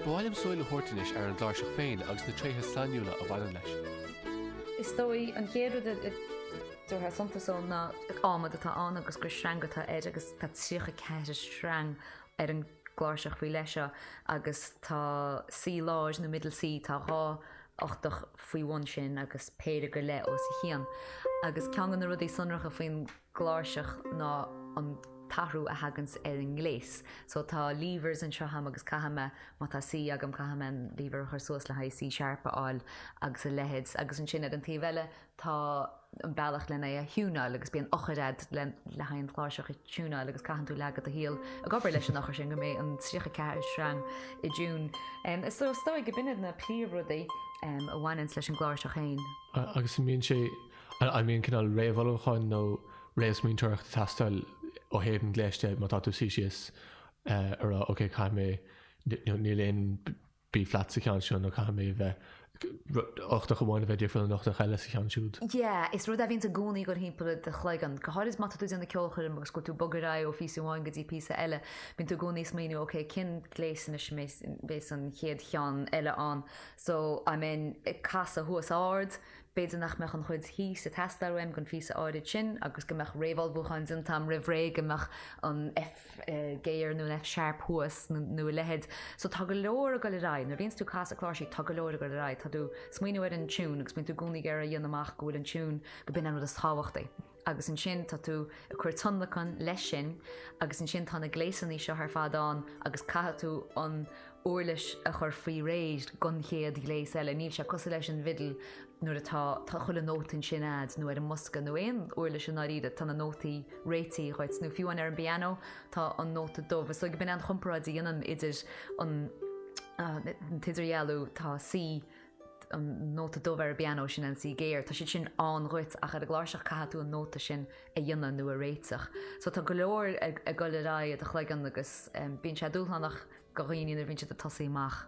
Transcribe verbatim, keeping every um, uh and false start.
Ba mhaith liom súil a thabhairt anois ar an gcláirseach féin agus na tréithe sainiúla a bhaineann leis. Is dóigh an chéad rud a dtabharfá suntas dó ná adhmad atá ann agus gur sreang atá air agus tá tríocha ceathair sreang ar an gcláirseach faoi leith seo agus tá C láir nó middle C tá dhá ochtach faoi bhun sin agus péire go leith os a chionn. Agus ceann de na rudaí sonracha faoin gcláirseach ná an t-athrú a thaganns ar an ngléas. So tá levers anseo agam agus caithfidh mé má tá C agam caithfidh mé an lever a chur suas le haghaidh C sharp a fháil agus a leithéid. Agus ansin ar an taobh eile tá an bealach lena é a thiúnáil agus bíonn eochair agat le le haghaidh an chláirseach a thiúnáil agus caitheann tú leath de do shaol ag obair leis an eochair sin go mbeidh an tríocha ceathair sreang i dtiún. Um, is so is dóigh go b'in iad na príomhrudaí um, a bhaineanns leis an gcláirseach féin. Agus an mbíonn sé an mbíonn cineál réamhullmhúcháin nó réamhsmaointeoireacht ag teastáil ó thaobh an ghléis de má tá tú suí síos a rá ok caithfidh mé níl aon B flat sa cheann seo nó caithfidh mé bheith ochtach amháin a bheith difriúil ón ochtach eile sa cheann siúd. Yeah, is rud a bhíonn i gcónaí ag dul thimpeall i do chloigeann. Go háirid má tá tú ag déanamh ceolchoirm agus go bhfuil tú ag bogadh ar aghaidh ó phíosa amháin go dtí píosa eile, bíonn tú i gcónaí ag smaoineamh ok, cén gléas anois a bheas an chéad cheann eile ann. So, I mean, ag casadh thuas ard, b'fhéidir nach mbeadh an chuid thíos ag teastáil uaim don phíosa áirid sin agus go mbeadh réamhullmhúchán déanta agam roimh ré go mbeadh an F géar nó an F sharp thuas nó a leithéid. So tá go leor ag dul ar aghaidh. Nuair a bhíonns tú ag casadh cláirsí tá go leor ag dul ar aghaidh. Tá tú ag smaoineamh ar an tiún agus bíonn tú i gcónaí ag iarraidh a dhéanamh amach go bhfuil an tiún go b'in an rud is tábhachtaí. Agus ansin tá tú ag cur tionlacan leis sin agus ansin tá na gléasanna seo ar fad ann agus caithfidh tú an uirlis a chur faoi réir don chéad ghléas eile. Níl sé cosúil leis an bhfidil nuair atá tá chuile nóta ansin agat nó ar an mbosca nó aon uirlis i ndáiríre tá na nótaí réitithe dhuit nó fiú amháin ar an bpianó tá an nóta dubh. Is dóigh go b'in an chomparáid a dhéanaim idir an an t-idirdhealú tá C an nóta dubh ar an bpianó sin an C géar, Tá siad sin ann dhuit ach ar an gcláirseach caithfidh tú an nóta sin a dhéanamh nó a réiteach. So tá go leor ag ag dul ar aghaidh i do chloigeann agus um, bíonn sé dúshlánach do dhaoine nuair a bhíonn siad ag tosaí amach.